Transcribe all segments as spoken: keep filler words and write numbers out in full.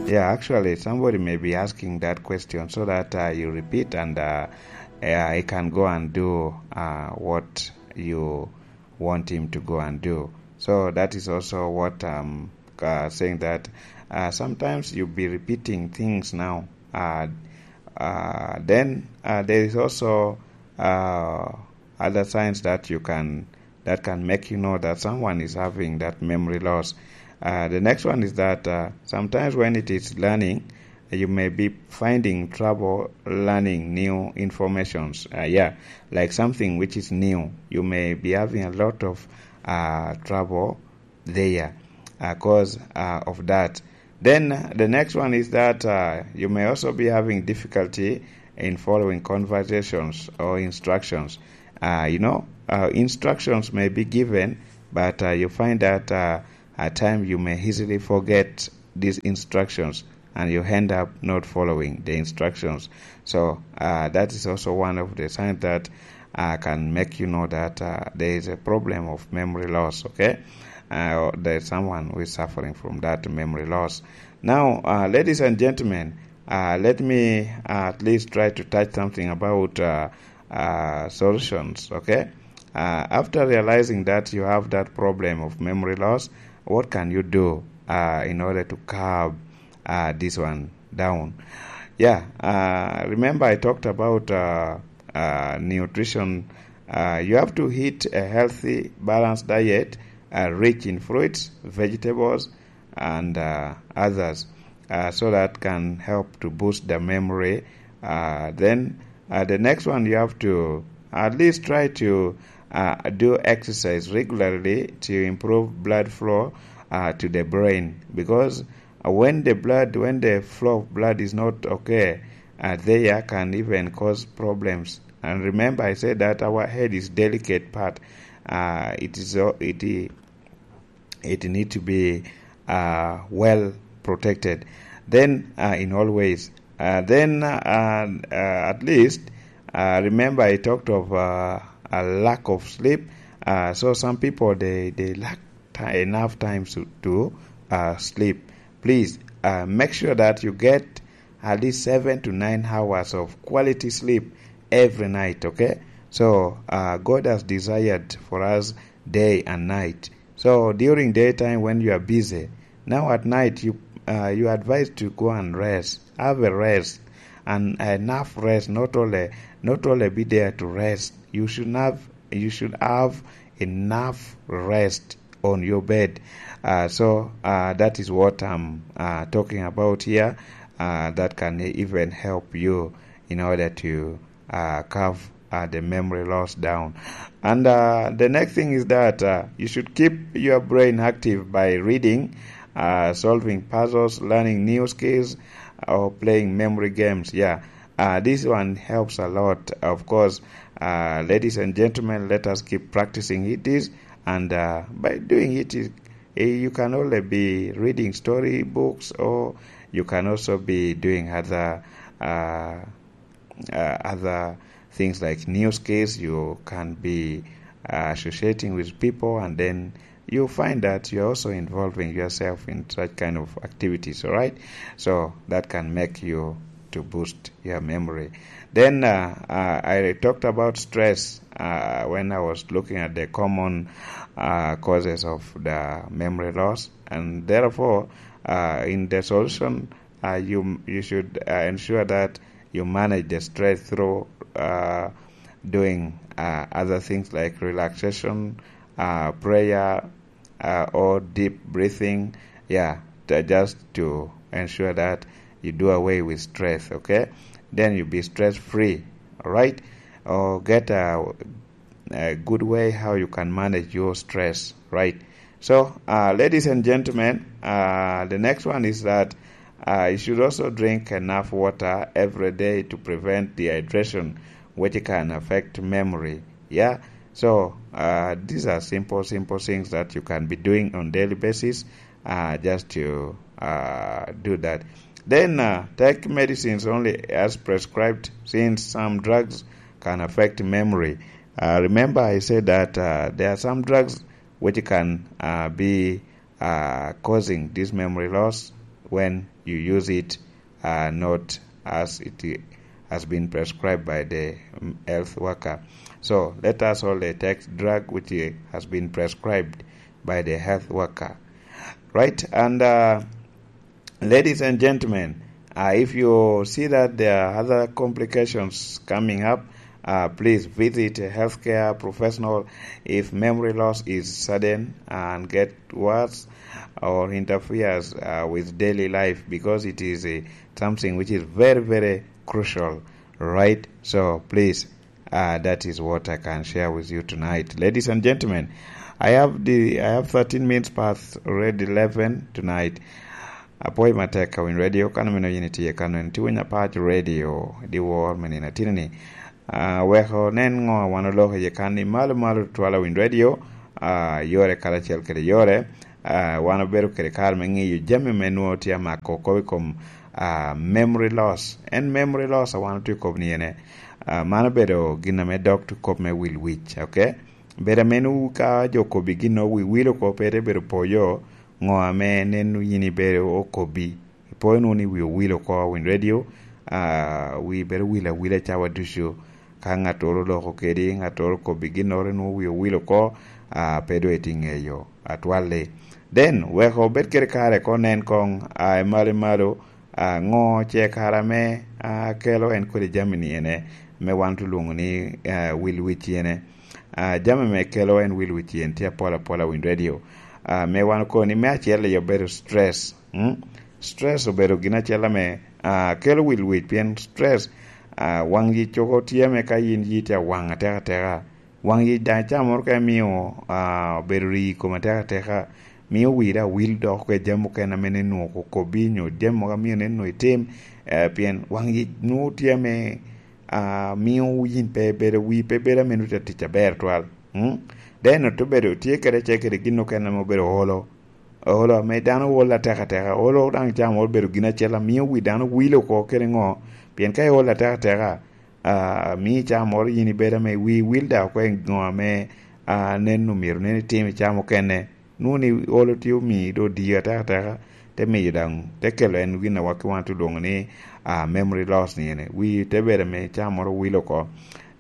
Yeah, actually, somebody may be asking that question so that uh, you repeat and uh, uh, he can go and do uh, what you want him to go and do. So that is also what I'm uh, saying, that uh, sometimes you'll be repeating things now. Uh, uh, then uh, there is also uh, other signs that you can that can make you know that someone is having that memory loss. Uh, the next one is that uh, sometimes when it is learning, you may be finding trouble learning new informations. Uh, yeah, like something which is new. You may be having a lot of uh, trouble there because uh, of that. Then uh, the next one is that uh, you may also be having difficulty in following conversations or instructions. Uh, you know, uh, instructions may be given, but uh, you find that uh, at times you may easily forget these instructions and you end up not following the instructions. So uh, that is also one of the signs that uh, can make you know that uh, there is a problem of memory loss, okay? Uh, there's someone who is suffering from that memory loss. Now, uh, ladies and gentlemen, uh, let me uh, at least try to touch something about uh, uh, solutions, okay? Uh, after realizing that you have that problem of memory loss, what can you do uh, in order to curb uh, this one down? Yeah, uh, remember I talked about uh, uh, nutrition. Uh, you have to eat a healthy, balanced diet uh, rich in fruits, vegetables, and uh, others, uh, so that can help to boost the memory. Uh, then uh, the next one, you have to at least try to uh, do exercise regularly to improve blood flow uh, to the brain, because uh, when the blood when the flow of blood is not okay, uh, there can even cause problems. And remember, I said that our head is delicate part. Uh, it is uh, it it need to be uh, well protected. Then uh, in all ways, uh, then uh, uh, at least uh, remember I talked of uh, a lack of sleep. Uh, so some people, they they lack ti- enough times to, to uh, sleep. Please uh, make sure that you get at least seven to nine hours of quality sleep every night, okay? So uh, God has desired for us day and night. So during daytime, when you are busy, now at night you uh, you are advised to go and rest. Have a rest, and enough rest. Not only not only be there to rest. You should have you should have enough rest on your bed. Uh, so uh, that is what I'm uh, talking about here. Uh, that can even help you in order to uh, curve uh, the memory loss down. And uh, the next thing is that uh, you should keep your brain active by reading, uh, solving puzzles, learning new skills, or playing memory games. Yeah, uh, this one helps a lot. Of course, uh, ladies and gentlemen, let us keep practicing it is, and uh, by doing it, it, eh, you can only be reading story books, or you can also be doing other uh, uh, other things like news case. You can be uh, associating with people, and then you find that you're also involving yourself in such kind of activities, all right? So that can make you to boost your memory. Then uh, uh, I talked about stress uh, when I was looking at the common uh, causes of the memory loss, and therefore, uh, in the solution, uh, you you should uh, ensure that you manage the stress through uh, doing uh, other things like relaxation, uh, prayer, uh, or deep breathing. Yeah, to, just to ensure that you do away with stress, okay? Then you'll be stress free, all right? Or get a, a good way how you can manage your stress, right? So, uh, ladies and gentlemen, uh, the next one is that uh, you should also drink enough water every day to prevent dehydration, which can affect memory. Yeah. So uh, these are simple, simple things that you can be doing on daily basis, uh, just to uh, do that. Then uh, take medicines only as prescribed, since some drugs can affect memory. Uh, remember, I said that uh, there are some drugs which can uh, be uh, causing this memory loss. when you use it, uh, not as it has been prescribed by the, um, health worker. So let us all, uh, take drug which, uh, has been prescribed by the health worker, right? And, uh, ladies and gentlemen, uh, if you see that there are other complications coming up, uh, please visit a healthcare professional if memory loss is sudden and get worse or interferes, uh, with daily life, because it is, uh, something which is very, very crucial, right? So please, uh, that is what I can share with you tonight. Ladies and gentlemen, I have the, I have thirteen minutes past already eleven tonight. Apwoyo matek ka Winy Radio, kano meno yin itye kano en, tye Winy Apac Radio, di wor me nino atini ni. Ah, weko nen ŋo wan oloko iye kan i malo malo twala Winy Radio, ah, yore karacel kede yore. Ah, wan obedo kede kare me ŋeyo jami me nwoŋo tye amako kop i kom, ah, memory loss. En memory loss a wan otye kop ni ene. Ah, man obedo gin ame dok tye kop me wil wic, ok? Bedo ame nwoŋo ka jo kobbi gin nwoŋo wi wil oko pe te bedo poyo, ŋo ame neno yin ibedo okobbi. Ipoyo nwoŋo ni wi owil oko Winy Radio, ah, wi bedo wil awila cawa ducu. Ka ŋattoro oloko kedi, ŋattoro okobbi ginnoro nwoŋo wi owil oko, ah, pe doŋ itye ŋeyo atwalli. Then, weko obed kede kare ko nen koŋ, ah, i malo i malo, ah, ŋo ce kare ame, ah, kelo en kodi jami ni ene, me wan tulwoŋo ni, ah, wil wic ene. Ah, jami me kelo en wil wic en tye apol apola Winy Radio. Ah, me wan okoni, me acel i obedo stress. Mm? Stress obedo gin acel ame, ah, kelo wil wic, pien stress, ah, waŋ yic oko tye ame ka yin yi tye awaŋ ateka ateka. Waŋ yic daŋ icamoro ka imio, ah, obedo rii i kom ateka ateka, mio wiri awil dok oko i jami mukene ame nwoŋo okobbi nyo jami mogo amio nwoŋo itim, eh, pien waŋ yic nwoŋo tye ame, ah, mio yin pe ibedo, wii pe bedo ame nwoŋo itye tic aber twal. Mm? Then ote bedo tye kede ce kede gin okene ame obedo olo. Olo ame dano olo ateka ateka, olo daŋ icamoro obedo gin acel amio wi dano wil oko kede ŋo, pien ka iolo ateka ateka, ah, mio icamoro yin ibedo ame wii wil daŋ oko i ŋo ame, ah, nen omyero nen itim icamo kene. Nwoŋo ni olo tye omii doŋ odii ateka ateka, te miyo daŋ, te kelo en gin a waki wan te lwoŋo ni, ah, memory loss ni ene. Wii te bedo ame icamoro wil oko.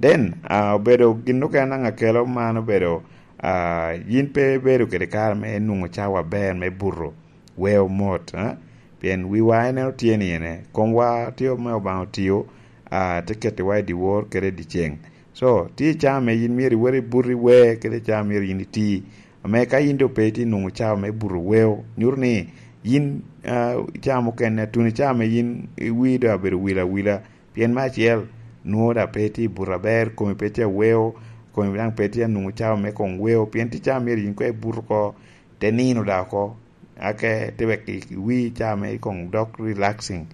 Then, ah, obedo gin okene daŋ akelo man obedo, ah, yin pe ibedo kede kare me nwoŋo cawa aber me buto, weo mot, ah? Pien wiwa en otye ni ene, komwa tye ame Obaŋa otio, ah, te kettiwa i dyewor kede i dyeceŋ. So, tye i caa ame yin myero iwot ibuti wer kede caa myero yin iti. Ame ka yin doŋ pe itye nwoŋo cawa me buto weo, nyuto ni yin, ah, caa mukene, tuno i caa ame yin iwii doŋ abedo wil awila. Pien me acel, nwoŋo daŋ pe itye i buto aber, komi pe tye aweo, komi daŋ pe tye anwoŋo cawa me koŋ weo, pien tye caa myero yin koŋ ibut oko, te nino daŋ oko, ake te wek i, i wii caa me koŋ dok relaxing,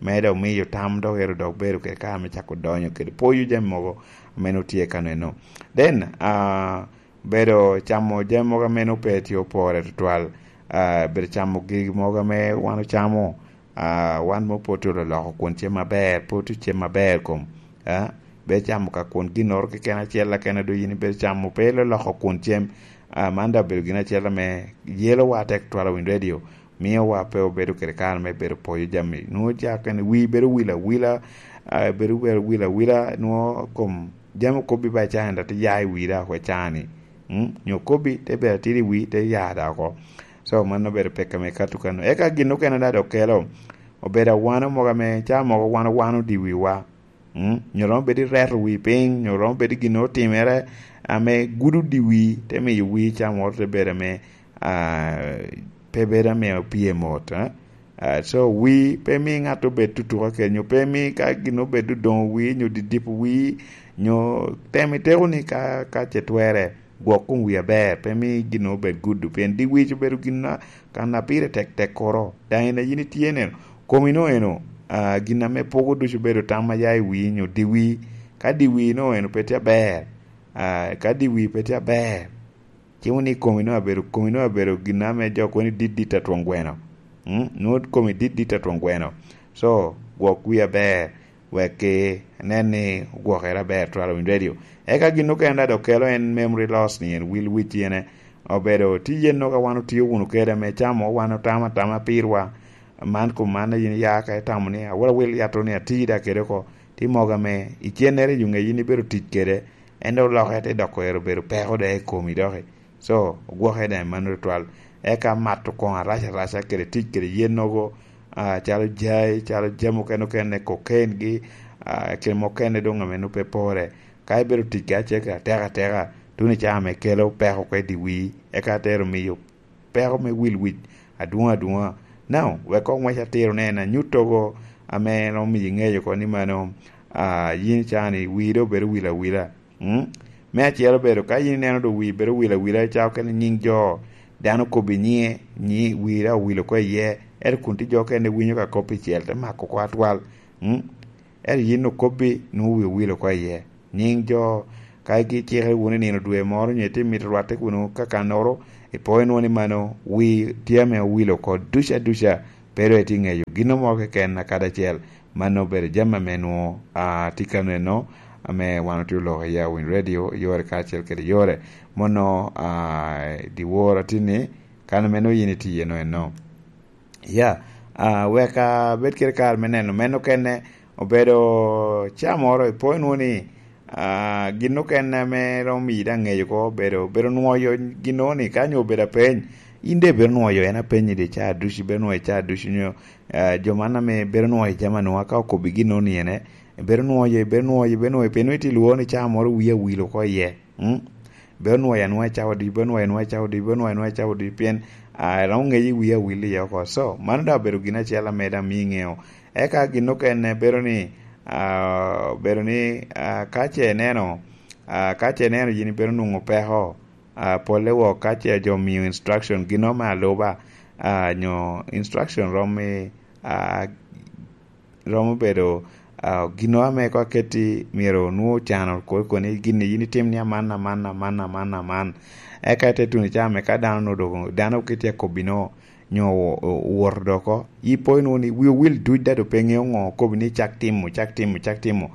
me dok miyo tam dok ero dok bedo kede kare me cako donyo kede poyo jami mogo ame nwoŋo tye kano eno. Then, ah, bedo camo jami mogo ame nwoŋo pe tye opore tutwal, ah, bedo camo gigi mogo ame wan ocamo, ah, wan mo pe otye ololoko kun cem aber, pe otye cem aber kom, ah, bedo camo ka kun ginnoro keken acel akena doŋ yin ibedo camo pe iloloko kun cem, ah, man daŋ obedo gin acel ame yelowa tek twal Winy Radio, miowa pe obedo kede kare me bedo poyo jami. Nwoŋo ca kene wii bedo wil awila, ah, bedo, bedo wil awila, nwoŋo kom jami okobbi ba i caa-ni daŋ te ya i wii daŋ oko i caa-ni. Mm? Nyo okobbi, te bedo atidi i wii, te ya daŋ oko. So, mano obedo pekka me kato kano. Eka gin okene daŋ dok kelo, obedo awano mogo ame caa mogo wan owano di wiwa. Mm? Nyo romo bedo i reto wii piny, nyo romo bedo i gin otimere ame gudo di wii, te miyo wii caa moro te bedo ame, ah, pe bedo ame opye mot, eh? Ah, so, wii pe mi ŋat obed tutuka kede, nyo pe mi ka gin obed odoŋo wii, nyo didipo wii, nyo tem iteko ni ka, ka ce twere, gwok kom wii aber, pe mi gin obed gudo, pien di wii obedo gin a, kan a pire tek tek koro. Daŋ in a yin itye neno, komi no eno, ah, gin ame pogo ducu obedo tam a ya i wii, nyo di wii. Ka di wii no eno pe tye aber, ah, ka di wii pe tye aber, cimo ni komi nwoŋo abedo, komi nwoŋo abedo gin ame jo kono ni dit dit atwon gweno. Mm? Nwoŋo komi dit dit atwon gweno. So, gwok wii aber, wek ki nen ni ogwokere aber twal Winy Radio. Eka gin okene daŋ dok kelo en memory loss ni en wil wic ene. Obedo tye yen nwoŋo ka wan otio wunu kede ame camo wan otamo atama pirwa. man kom man a yin iya ka itamo ni awil awil yat-tu ni ati da kede oko, ti mogo ame icennere i yo ŋec yin ibedo tic kede, en dok lokke te doko ero bedo peko da i komi doki. So, ogwoke da i mano tutwal. Eka mato koŋ arac araca kede tic kede yen nogo, ah, calo jai, calo jami okene okene, cocaine gi, ah, kede mukene doŋ ame nwoŋo pe pore. Ka ibedo tic kede acel kede ateka ateka, tuno i caa ame kelo peko oko i dye wii, eka te ero miyo peko me wil wic adwoŋ adwoŋa. Now, wek koŋ wec atiro ni en anyut togo ame romo miyo iŋeyo oko ni mano, ah, yin cani wii doŋ obedo wil awila. Mm? Me acel obedo, ka yin ineno doŋ wii bedo wil awila, ica okene nyiŋ jo, dano kobbi nyiŋe, nyi-, wii daŋ owil oko iye, ento kun tye jo okene winyo ka kop icel, te mako oko atwal. Mm? Ento yin okobbi, nwoŋo wii owil oko iye. Nyiŋ jo, ka gicikere wunu i nino dwe moro, onyo itye mito rwatte wunu kakannoro, ipo inwoŋo ni mano wii tye ame owil oko duca duca, pe doŋ itye ŋeyo gin mo keken akadi acel. Mano obedo jami ame nwoŋo, ah, tye kano eno, ame wan otye oloko i Awiny Radio, yore kacel kede yore. Mono, ah, dyewor atinni, kan ame nwoŋo yin itye eno eno. Ya, ah, wek abed kede kare me neno meno kene, obedo ca moro, ipo inwoŋo ni, ah, gin okene ame romo miyi daŋ ŋeyo oko, obedo, obedo nwoyo gin ni, ka nyo obedo apeny, in de ibedo nwoyo en apenyi di ca ducu, ibedo nwoyo ca ducu, nyo, ah, jo man ame bedo nwoyo jami anwoŋa ka okobbi gin ni ene, ibedo nwoyo, ibedo nwoyo, ibedo nwoyo, pien itye lworo ni ca moro wii awil oko iye. Mm? Bedo nwoyo anwoya i cawa odic, bedo nwoyo anwoya i cawa odic, bedo nwoyo anwoya i cawa odic, pien, ah, iromo ŋeyo i wii awil iye oko. So, mano daŋ obedo gin acel ame daŋ mio iŋeo. Eka gin okene bedo ni, ah, bedo ni, ah, ka ce ineno, ah, ka ce ineno yin ibedo nwoŋo peko, ah, polle wok ka ce jo omio instruction, gin ame aluba, ah, nyo instruction romo i, ah, romo bedo, ah, gin ame ko aketti myero nwoŋo ocano, ko, ko ni gin ni yin itim ni aman, aman, aman, aman, aman. Eka ite tuno i caa me ka dano nwoŋo dok, dano kitye akobbi no, nyo o-, o-, owoto dok oko. Ipo inwoŋo ni wi owil duc dado pe ŋeo ŋo okobbi ni cak timo, cak timo, cak timo.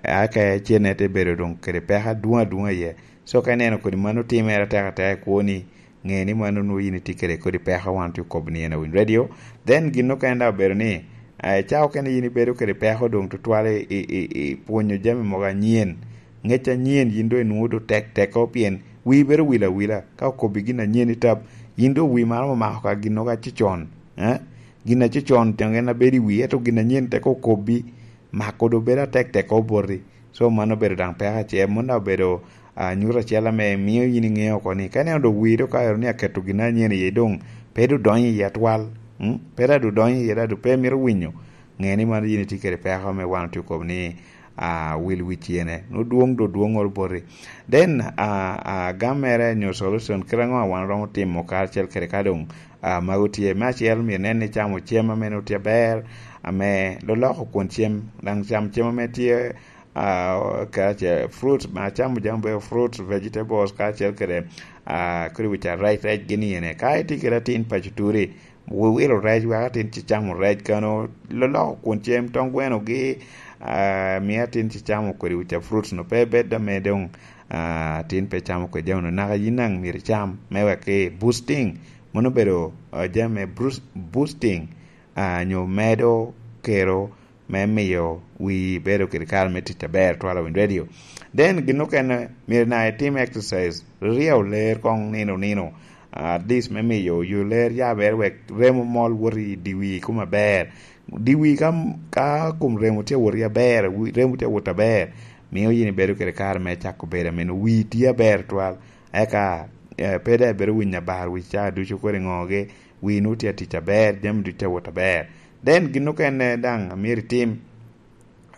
Eka cene te bedo doŋ kede peko adwoŋ adwoŋ iye. So ka ineno kodi mano timere atek atek i kwoni, ŋe ni mano nwoŋo yin itye kede kodi peko wan otye okobo ni en Awiny Radio. Then gin okene daŋ obedo ni, eh, ca okene yin ibedo kede peko doŋ tutwal i, i, i, i pwonyo jami mogo anyen. Ŋec anyen yin doŋ inwoŋo doŋ tek tek oko pien wii bedo wil awila. Ka okobbi gin anyen i tap, yin doŋ wii maro omako ka gin mogo acicon. Eh? Gin acicon tyen en abedo i wii, ento gin anyen tek okobbi, mako doŋ bedo atek tek oko boti. So mano obedo daŋ peko acel, mano daŋ obedo, ah, nyuto acel ame mio yin iŋeo oko ni, ka ineno doŋ wii doŋ ka ero ni aketo gin anyen iye doŋ, pe doŋ donyo iye atwal, mm? Pe daŋ doŋ donyo iye, daŋ doŋ pe mito winyo, ŋe ni mano yin itye kede peko ame wan otye okobo ni, ah, wil wic ene. Nwoŋo dwoŋ doŋ dwoŋŋoro boti. Then, ah, ah, gam mere nyo solution, kite aŋo a wan oromo timo karacel kede ka doŋ, ah, mago tye? Me acel, myero inen ni icamo cem ame nwoŋo tye aber, ame loloko kwon cem, daŋ cam cem ame tye, ah, kacel fruits, ma acamo jami obedo fruits, vegetables, kacel kede, ah, kodi wic arec, rec gin iyene. Ka itye kede atin paco turi, wi-, wilo rec, wek atin ci camo rec kano, loloko kwon cem, tong gweno gi, ah, mi atin ci camo kodi wic a fruits no, pe bed ame doŋ, ah, atin pe camo kodi jami no. Naka yin daŋ myero icam, me wek ki boosting, mano obedo, ah, jami me brus-, boosting, ah, nyo medo kero me miyo wii bedo kede kare me tic aber twal Awiny Radio. Then gin okene, myero na itim exercise, ryeo ler koŋ nino nino, at least me miyo yo ler yabere wek remo mol wot i dye wii kom aber. Dye wii ka, ka kom remo tye awot i aber, wi-, remo tye awot aber, mio yin ibedo kede kare me cako bedo ame nwoŋo wii tye aber twal. Eka, eh, pe daŋ ibedo winyo abar wic caa ducu kodi ŋogi, wii nwoŋo tye atic aber, jami ducu tye awot aber. Then gin okene daŋ amyero itim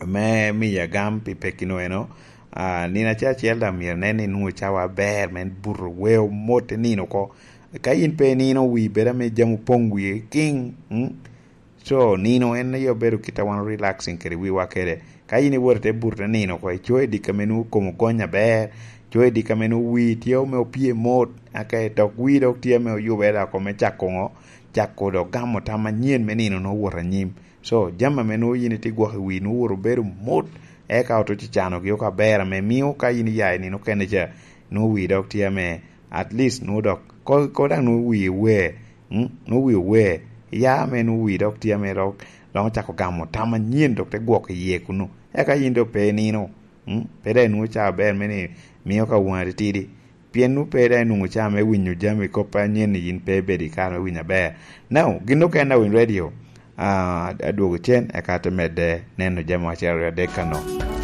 me miyo agam pi pekki no eno, ah, nino acel acel daŋ myero inen ni nwoŋo cawa aber, me buto weo mot i nino oko. Ka in pe inino, wii bedo ame jami opoŋ wii kiŋ, mm? So, nino en aye obedo kit a wan relaxing kede wiwa kede. Ka in iwoto i te buto te nino oko, icoyo i dikka ame nwoŋo kom ogony aber, icoyo i dikka ame nwoŋo wii tye ame opye mot, aka i tok wii dok tye ame oyubere dok oko me cako ŋo? Cako dok gamo tam anyen me nino nwoŋo wot anyim. So, jami ame nwoŋo yin itye gwok i wii nwoŋo wot obedo mot, eka otuco canogi oko aber ame mio ka in iya i nino okene ca, nwoŋo wii dok tye ame at least nwoŋo dok, ko, ko daŋ nwoŋo wii ower, mm, nwoŋo wii ower, Ya ame nwoŋo wi dok tye ame dok dok ocako gamo tam anyen dok te gwoko iye kunu. Eka yin dok pe inino, mm? Pe dok inwoŋo ca aber me ni mio ka wunga titidi. Pien nwoŋo pe dok inwoŋo ca me winyo jami kop anyen ni yin pe ibedo i kare me winyo aber. Now, gin okene a Winy Radio, ah, adwogo cen eka te medde neno jami acel aryo adek kano.